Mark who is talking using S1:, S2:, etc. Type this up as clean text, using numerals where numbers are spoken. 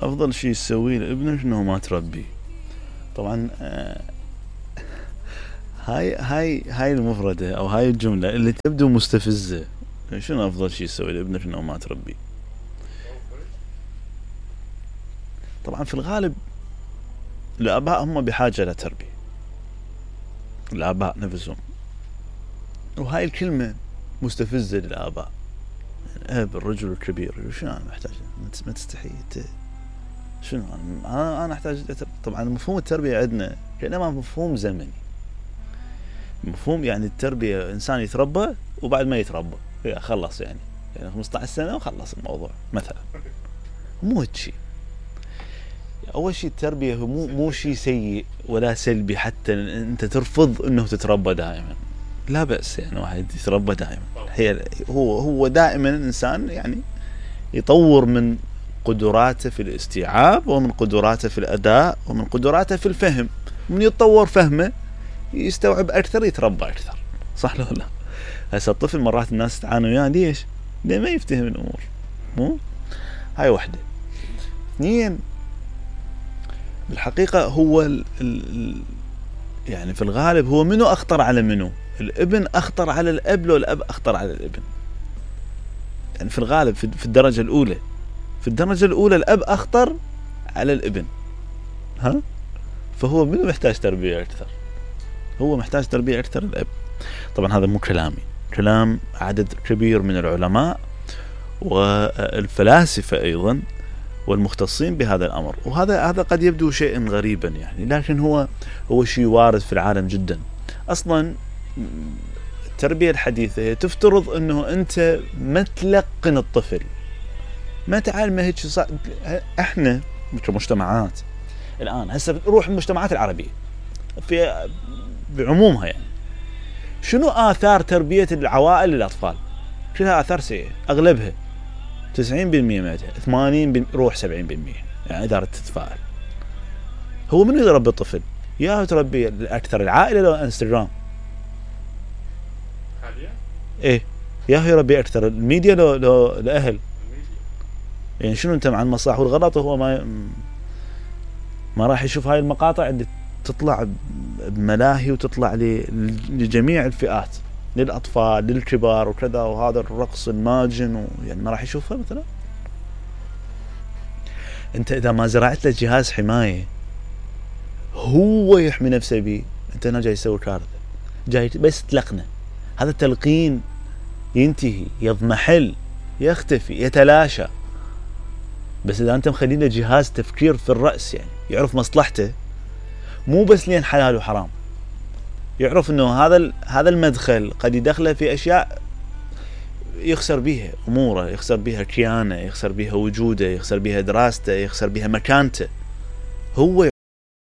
S1: افضل شيء تسويه لابنك انه ما تربيه. طبعا هاي المفردة او هاي الجملة اللي تبدو مستفزة. شنو افضل شيء تسويه لابنك انه ما تربيه؟ طبعا في الغالب الاباء هم بحاجة لتربية، الاباء نفسهم، وهاي الكلمة مستفزة للاباء. الاب الرجل الكبير، شنو انا محتاج؟ ما تستحي انت؟ شنو انا احتاج؟ طبعا مفهوم التربية عندنا كانما مفهوم زمني، مفهوم يعني التربية انسان يتربى وبعد ما يتربى خلص، يعني 15 سنة وخلص الموضوع مثلا. مو هيك شيء. اول شيء التربية مو شيء سيء ولا سلبي حتى انت ترفض انه تتربى دائما. لا بأس يعني واحد يتربى دائما. هو دائما الانسان يعني يطور من قدراته في الاستيعاب ومن قدراته في الاداء ومن قدراته في الفهم. من يتطور فهمه يستوعب اكثر، يتربى اكثر. صح ولا لا؟ هسه الطفل مرات الناس تعاني وياه ليش؟ لأنه ما يفتهم الامور. مو هاي وحده. اثنين، بالحقيقه هو يعني في الغالب هو منو اخطر على منو؟ الابن اخطر على الاب لو الاب اخطر على الابن؟ يعني في الغالب في الدرجه الاولى، الاب اخطر على الابن. ها؟ فهو منو محتاج تربيه اكثر؟ هو محتاج تربيه اكثر الاب. طبعا هذا مو كلامي، كلام عدد كبير من العلماء والفلاسفه ايضا والمختصين بهذا الامر. وهذا قد يبدو شيئا غريبا يعني، لكن هو شيء وارد في العالم جدا. اصلا التربيه الحديثه هي تفترض انه انت ما تلقن الطفل، ما تعلمه هيك. احنا كمجتمعات الان هسه نروح المجتمعات العربيه في بعمومها، يعني شنو آثار تربية العوائل للأطفال؟ كلها آثار سيئة، أغلبها 90% منها، 80 روح 70%، يعني إذا تتفائل. هو من يربي الطفل؟ يا تربي أكثر العائلة لو انستغرام؟ إيه، يا يربي أكثر الميديا لو الأهل؟ يعني شنو أنت مع المصلحة والغلط، وهو ما راح يشوف هاي المقاطع اللي تطلع بملاهي وتطلع لجميع الفئات، للأطفال للكبار وكذا، وهذا الرقص الماجن يعني ما راح يشوفها مثلا. انت اذا ما زرعت له جهاز حماية هو يحمي نفسه بيه، انت هنا جاي تسوي كارثة، جاي بس تلقنه. هذا التلقين ينتهي، يضمحل، يختفي، يتلاشى. بس اذا انت مخلي له جهاز تفكير في الرأس، يعني يعرف مصلحته، مو بس لين حلال وحرام، يعرف انه هذا المدخل قد يدخله في اشياء يخسر بيها اموره، يخسر بيها كيانه، يخسر بيها وجوده، يخسر بيها دراسته، يخسر بيها مكانته. هو